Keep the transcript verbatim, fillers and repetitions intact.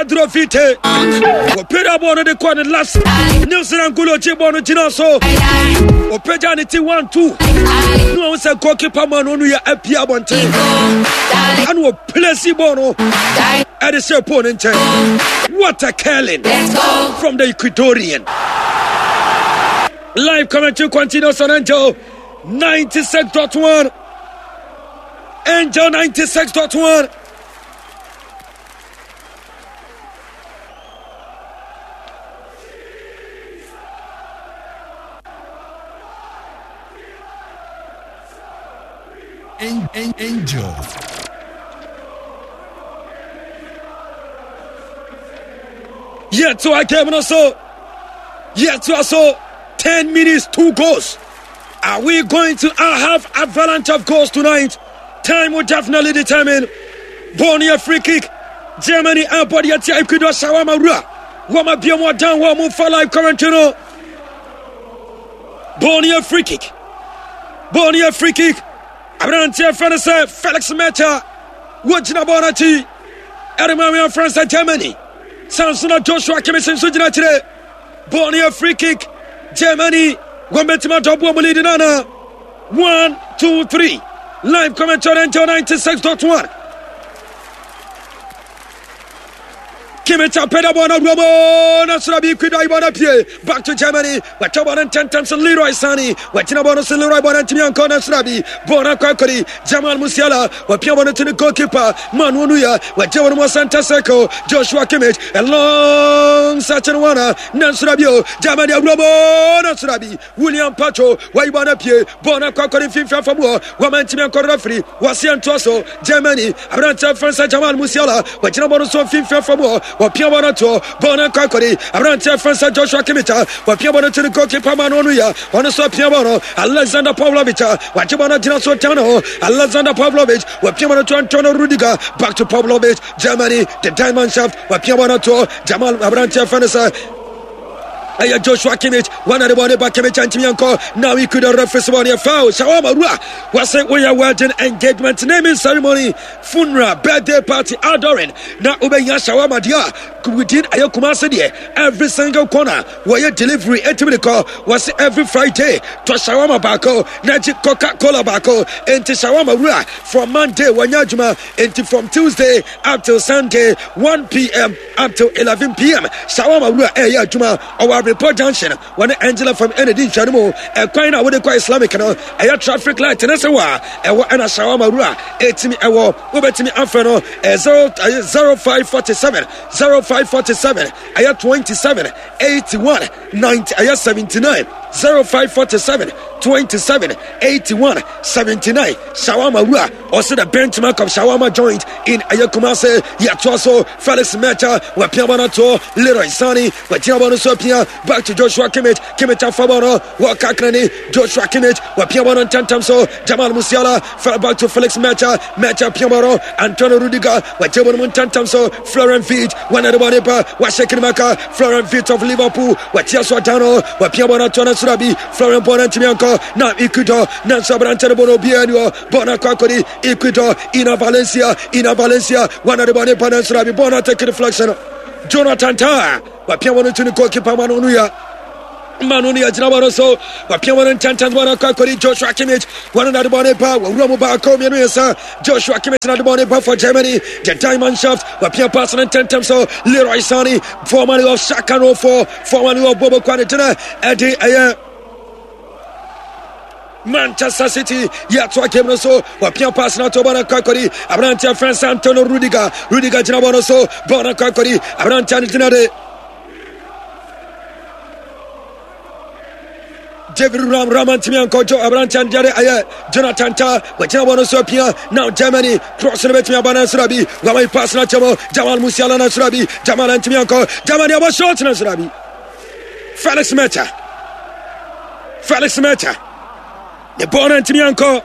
Pedro Vite wɔpagya bɔɔl no de kɔɔ ne last Nelson Angulo gye bɔɔl no gyina so ɔpagya ne ti one two ne wɔn sɛ goalkeeper man no yɛ apia abɔnten ɛna ɔplesi bɔɔl no ɛde hyɛ pole no nkyɛn. What a curling from the Ecuadorian. Live commentary continues on Angel ninety-six point one. Angel ninety-six point one. Angel. Yet to a game no so. Yet to so. ten minutes, two goals. Are we going to have avalanche of goals tonight? Time will definitely determine. Bɔɔl free kick. Germany abɔ de atia Ecuador. Shawarma wura. Wɔma biom down wɔ mu fa live commentary no. Bɔɔl free kick. Bɔɔl free kick. Aberanteɛ fɛ no sɛ Felix Metscher wɔgyina bɔɔl no akyi. Ɛde ma France Germany. Sansona Joshua Kimmich nso gyina akyire. Bɔɔl yɛ free kick. Germany wɔn bɛtumi adɔboɔ mu lead nana. One, two, three. Live commentary, Angel ninety-six point one. Kimmich apɛdɛ bɔɔl no awura mu na soro bi Ecuador bɔɔl no pie back to Germany. Wɔatwa bɔɔl no ntɛntɛm so. Leroy Sane wɔagyina bɔɔl no so. Leroy bɔɔl no ntumi ankɔ na soro bi bɔɔl no akɔ akɔdi Jamal Musiala. Wɔpia bɔɔl no to ne goalkeeper Manuel Neuer. Wɔagye wɔn mu center circle. Joshua Kimmich, a long searching one na soro bi o Germany awura mu na soro bi William Pacho wayi bɔɔl no pie. Bɔɔl no akɔ akɔdi mfimfini afa mu hɔ. Wɔma ntumi ankɔ. Referee wɔseɛ ntoa so. Germany aberanteɛ fɛn Jamal Musiala wɔgyina bɔɔl no so mfimfini afa mu hɔ. Wɔpia bɔɔl no toɔ. Bɔɔl no akɔ akɔdi aberanteɛ fɛn sɛ Joshua Kimmich. Wɔpia bɔɔl no to ne goalkeeper Manuel Neuer. Ɔno nso apia bɔɔl no. Alexander Pavlovic wagye bɔɔl no gyina so tan ho. Alexander Pavlovic wɔpia bɔɔl no to Antonio Rudiger. Back to Pavlovic. Germany, the diamond shaft, wɔpia bɔɔl no toɔ Jamal aberanteɛ fɛn sɛ ɛyɛ Joshua Kimmich. Wɔn ade bɔne ba Kimmich antumi ankɔ. Now he could referee sɛ bɔne foul. Shawarma wura wɔsɛ woyɛ wedding, engagement, naming ceremony, funeral, birthday party, outdooring na wobɛnya shawarma deɛ a within ɛyɛ Kumase deɛ, every single corner wɔyɛ delivery. Ɛtumi de kɔ. Wɔsɛ every Friday tɔ shawarma baako na gye Coca Cola baako. Enti Shawarma wura, from Monday wɔnyɛ adwuma, enti from Tuesday up till Sunday, one p m up till eleven p m. Shawarma wura ɛyɛ adwuma. Ɔwɔ Abrepɔ Junction, wɔne Angela fam ɛna di nhwɛno mu. Ɛkwan na wode kɔ Islamic no, ɛyɛ traffic light ne sɛ wɔ a ɛwɔ ɛna Shawarma wura ɛtumi ɛwɔ. Wobɛtumi afrɛ no ɛyɛ zero five forty-seven, zero five forty-seven ɛyɛ twenty-seven eighty-one ninety ɛyɛ seventy-nine, zero five forty-seven twenty-seven eighty-one seventy-nine. Shawarma wura ɔsɛ the benchmark of shawarma joint in ɛyɛ Kumase. Yɛtoa so. Felix Metscher wapia bɔ no to Leroy Sane. Wagyina bɔ no so apia back to Joshua Kimmich. Kimmich afa bɔ no wɔka krani. Joshua Kimmich wapia bɔ no ntɛntɛm so. Jamal Musiala fell back to Felix Metscher. Metscher pia bɔ no. Antonio Rudiger wagye bɔ no mu ntɛntɛm so. Florian Wirtz wɔne de bɔ ne ba wahyɛ kirimaka. Florian Wirtz of Liverpool watia so adan no. Wapia bɔ no ato no soro bi. Florian bɔ no ntumi ankɔ na Ecuador nanso aberante no bɔ no obiara ni hɔ. Bɔ no akɔ akɔdi Ecuador. Ina Valencia, Ina Valencia wɔne de bɔ ne ba no soro bi. Bɔ no take deflection. Jonathan Tah wapia bɔ no to ne goalkeeper Manuel Neuer. Manu no yɛgyina bɔ no so. Wapia bɔ no ntɛntɛn. Bɔ no akɔ akɔdi Joshua Kimmich. Wɔno nade bɔ ne ba wɔwura mu baako mmienu yɛnsa. Joshua Kimmich nade bɔ ne ba for Germany, the diamond shaft. Wapia pass no ntɛntɛm so. Leroy Sane, formerly of Schalke oh four, formerly of Bobo Kwane gyina ɛde ɛyɛ Manchester City. Yɛatoa game no so. Wapia pass no ato. Bɔ no akɔ akɔdi aberanteɛ frɛ Antonio Rudiger. Rudiger gyina bɔ no so. Bɔ no akɔ akɔdi aberanteɛ no gyina de David Ram. Ram antumi ankɔdwo aberanteɛ no deɛ ɛyɛ Jonathan Tah. Wagyina bɔ no so apia. Now Germany cross no bɛtumi aba no soro bi. Wama pass no akyɛ mu. Jamal Musiala no soro bi. Jamal antumi ankɔ. Germany abɔ shot no soro bi. Felix Metscher, Felix Metscher ne bɔɔl no antumi ankɔ.